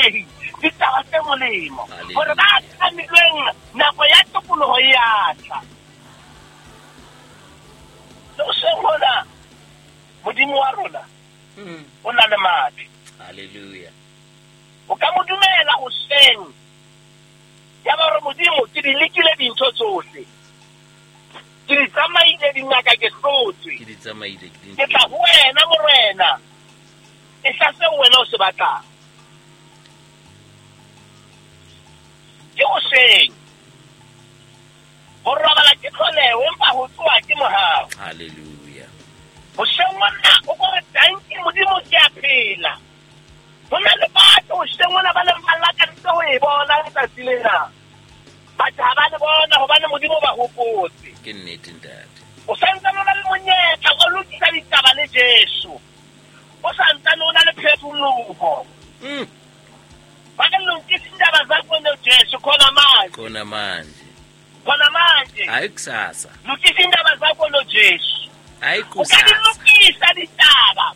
bafumanehi ditaba tse molemo, hore ba tlamilweng nako ya tokoloho e a tla. Le hoseng hona, Modimo wa rona o na le matla. Hallelujah. O ka mo dumela hoseng, ya ba hore Modimo ke di lekile dintho tsohle, ke di tsamaile dingaka ke hlotswe, Ke di tsamaile, ke di ke tla ho wena Morena, e tla seo wena o se batlang. Ke hoseng. Ho robala ke tlholeho, empa ho tsoha ke mohau. Hallelujah. Hoseng mona o ko re tanki Modimo ke a phela. Ho na le batho hoseng mona ba neng ba lakaditse ho e bona letsatsi lena. Batho ha ba le bona hobane Modimo ba hopotse. Ke nnete ntate. O santsane o na le monyetla o lokisa ditaba le Jesu. O santsane o na le phefumoloho. Ba re lokise ditaba tsa rona Jesu khona manje. Khona manje. Khona manje. Hayi kusasa. Lokisa indaba zakho no Jesu. Hayi O ka di kusasa. lokisa ditaba.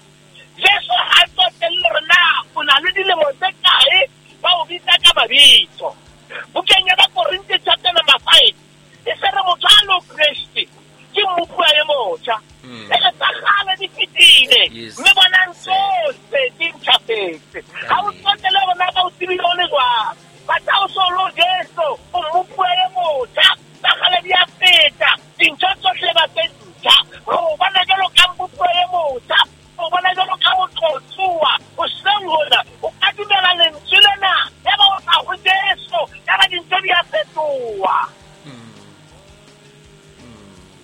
Jesu ha tsotelle hore na o na le dilemo tse kae, ba o bitsa ka mabitso. Bukeng ya Bakorinthe chapter number 5, e se re motho a lo Kreste ke mmopuwa e motjha. E re tsa kgale di fetile, mme bonang tsohle di ntjhafetse. Ha o tsotelle hore na ba o tsebile o le jwang, but ha o so lo Jesu, o mmopuwa e motjha, tsa kgale di a feta, dintho tsohle ba tse ntjha. O bona jwalo ka mmopuwa e motjha, o bona jwalo ka motlotsuwa, hoseng hona o ka dumela lentswe lena, ya ba o tla ho Jesu, ya ba dintho di a fetoha.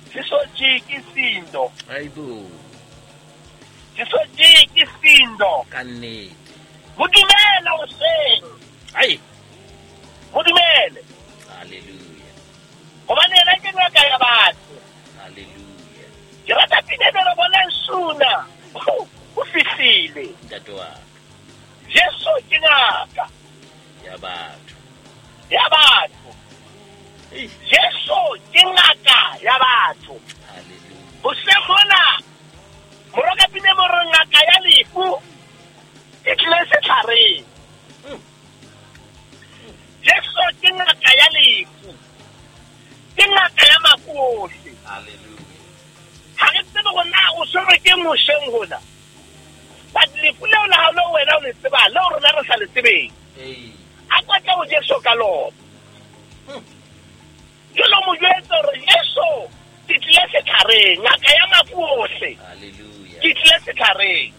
Sisojiki sindo. Hayibo. Sisojiki sindo. Ka nnete. Ho dumela hoseng. Ai. Ho dumele. Hallelujah. Hobane yena ke ngaka ya batho. Hallelujah. Ke rata pina e re bonang suna. O fihlile. Ntate wa ka. Jesu ke ngaka ya batho. Ya batho. Jesu ke ngaka ya batho. Hallelujah. Hoseng hona moroka pina mo re ngaka ya lefu e tlile setlhareng. Jesu ke ngaka ya lefu. Ke ngaka ya mafu ohle. Hallelujah. Ha re tsebe hore na o tshwerwe ke eng hoseng hona. But lefu leo la hao leo wena o le tsebang, leo rona re sa le tsebeng. A kwatle ho Jesu ka lona. Jwalo mo jwetse hore Jesu ke tlile setlhareng, ngaka ya mafu ohle. Hallelujah. Ke tlile setlhareng.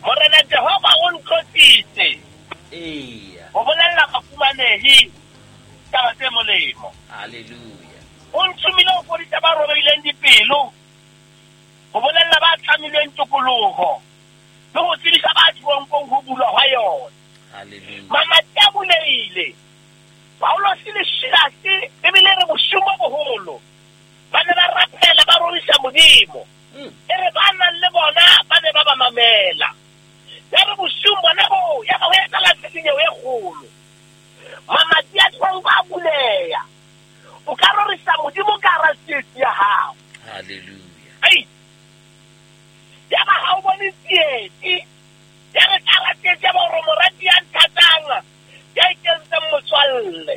Morena Jehova o ntlotsitse. Eya. Ho bolella bafumanehi taba tse molemo. Hallelujah. O nthomile ho fodisa ba robehileng dipelo, ho bolella ba tlamilweng tokoloho, le ho tsebisa ba teronkong ho bulwa hwa yona. Hallelujah. Mamati a bulehile. Paulosi le Silase ebile re bosiung bo boholo ba ne ba rapela ba rorisa Modimo. E re ba nang le bona ba ne ba ba mamela. Ya re bosiung bona boo, ya ba ho etsahala tshisinyeho e kgolo. Mamati a teronko a buleha. O ka rorisa Modimo ka hara tsietsi ya hao. Hallelujah. Ai. Ya ba ha o bone tsietsi. Ya re ka hara tsietsi ya ba hore morati ya nthatang, ya ikentseng motswalle.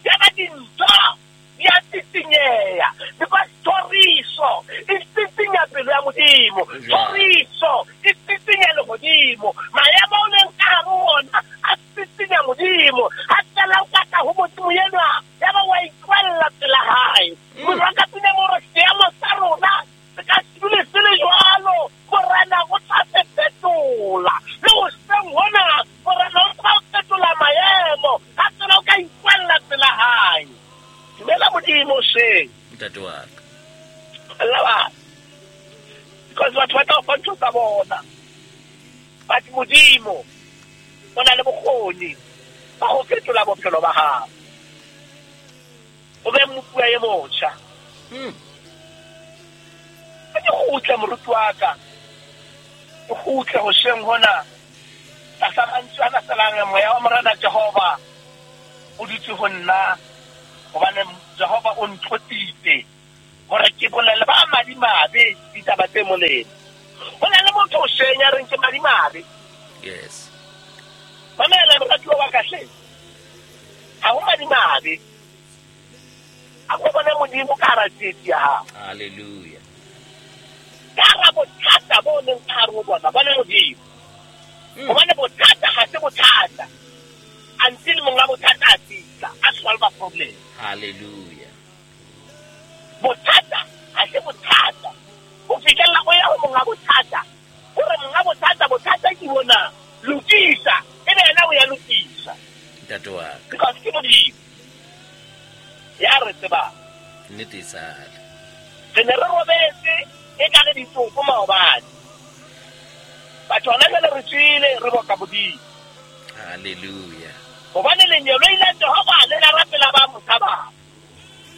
Ya ba dintho di a tsisinyeha. Because thoriso e tsisinya pelo ya Modimo. Thoriso e tsisinya lehodimo. Maemo o leng ka hare ho ona a tsisinya Modimo. Ha fela o ka tla ho Modimo enwa, ya ba wa ikwalla pela hae. Moraka pina mo re seemo sa rona se ka se dule se le jwalo. Morena o tla se fetola. Le hoseng hona, Morena o tla fetola maemo. Ha fela o ka ikwalla pela hae. Dumela Modimo hoseng. Ntate wa ka. Alla batho. Because batho ba tla o fa ntho tsa bona. But Modimo o na le bokgoni ba ho fetola bophelo ba hao. O be mmopuwa e motjha. Ke kgutle moruti wa ka. Ke kgutle hoseng hona. Tlasa mantswe ana felang, moya wa Morena Jehova o dutse ho nna, hobane Jehova o ntlotsitse hore ke bolelle ba madimabe ditaba tse molemo. Ho na le motho hoseng ya reng ke madimabe. Yes. Mamela moratuwa wa ka hle. Ha ho madimabe. A go bona Modimo ka hara tsietsi ya hao. Hallelujah. Ka hara bothata bo leng ka hare ho bona, bona Modimo. Hobane bothata ha se bothata until monga bothata a fihla, a solve problem. Hallelujah. Bothata ha se bothata ho fihlella o ya ho monga bothata, hore monga bothata, bothata ke bona, lokisa, ebe yena o ya lokisa. Ntate wa ka. Because ke Modimo ya re tsebang. Nnete e sale. Re ne re robetse e ka re ditopo maobane. Batho hona jwale re tswile re boka Modimo. Hallelujah. Hobane lenyeloi la Jehova le la rapela ba mo tshabang,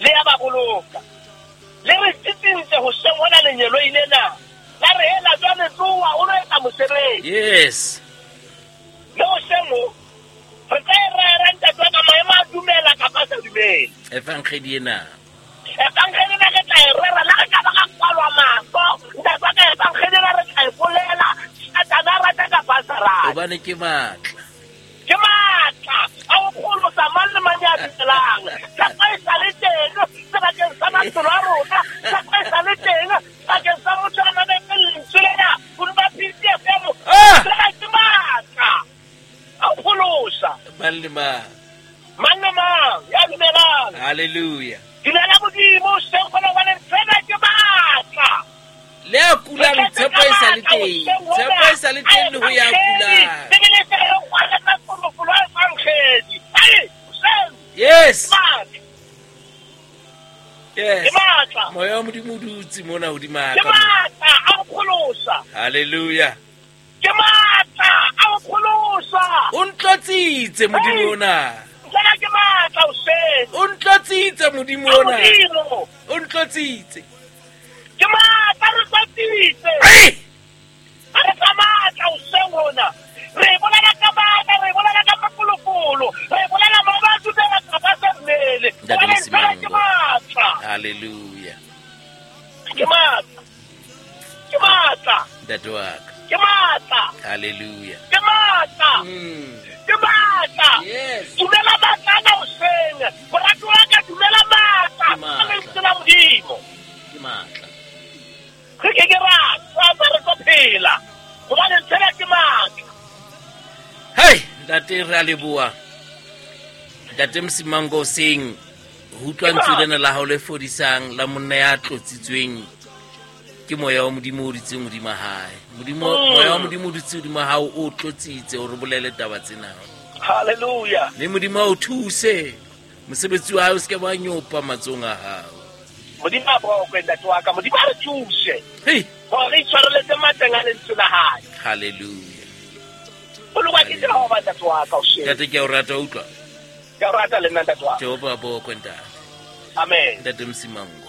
le ya ba boloka. Le re tsitsintse hoseng hona lenyeloi lena. La re hela jwale tsoha o lo etsa mosebetsi. Yes. Le hoseng ho, re tla e rera ntate wa ka maemo a dumela kapa a sa dumele. Evangeli ena. Evangeli ena re tla e rera, le re ka ba ra kwalwa mahlo. Ntate wa ka, evangeli ena re tla e bolela. Satane a rata kapa a sa rate. Hobane ke matla. Ke matla a ho pholosa mang le mang ya dumelang. Tshepo e sa le teng sebakeng sa maphelo a rona. Tshepo e sa le teng bakeng sa motho a mametseng lentswe lena hodima PCFM. Ah! Tsena ke matla a ho pholosa. Mang le mang. Mang le mang ya dumelang. Hallelujah. Dumela Modimo, seng kgona hobane tsena ke matla. Le a kulang, tshepo e sa le teng. Tshepo e sa le teng le ho ya kulang. Bibele e re kwalletsa mafolofolo a evangeli. Ai, hoseng. Yes. Matla. Yes. Ke matla. Moya wa Modimo o dutse mona hodima Ke ka mona. matla a ho pholosa. Hallelujah. Ke matla a ho pholosa. O ntlotsitse Modimo ona. Tsena ke matla hoseng. O ntlotsitse Modimo A ona. Modimo. O ntlotsitse. Ke matla, re tlotsitse. Ai! Ha re tla matla hoseng hona. Re bolela ka matla, re bolela ka mafolofolo, re bolela mo ba dumela kapa sa mmele. Ntate Hobane tsena Mosimango. ke matla. Hallelujah. Ke matla. Ke matla. Ntate wa ka. Ke matla. Hallelujah. Ke matla. Ke matla. Yes. Dumela matla ana hoseng. Morati wa ka, dumela matla. Ke matla. Ka lentswe la Modimo. Ke matla. Re ke ke ra tswa re tlo phela. Hobane tsena ke matla. Hei, ntate re a leboha. Ntate Mosimango hoseng, ho utlwa lentswe lena la hao le fodisang la monna ya tlotsitsweng ke moya wa Modimo o dutseng hodima hae. Modimo, moya wa Modimo o dutse hodima hao o tlotsitse hore o bolele taba tsena. Hallelujah. Mme Modimo a o thuse. Mosebetsi wa hae o se ke wa nyopa matsohong a hao. Modimo a bokwe ntate wa ka. Modimo a re thuse. Hei, Hore re itshwareletse matleng a lentswe la hae. hallelujah. Bolokwa ke Jehova ntate wa ka hoseng. Ntate ke a o rata utlwa. Ke a o rata le nna ntate wa ka. Jehova a bokwe ntate. Amen. Ntate Mosimango.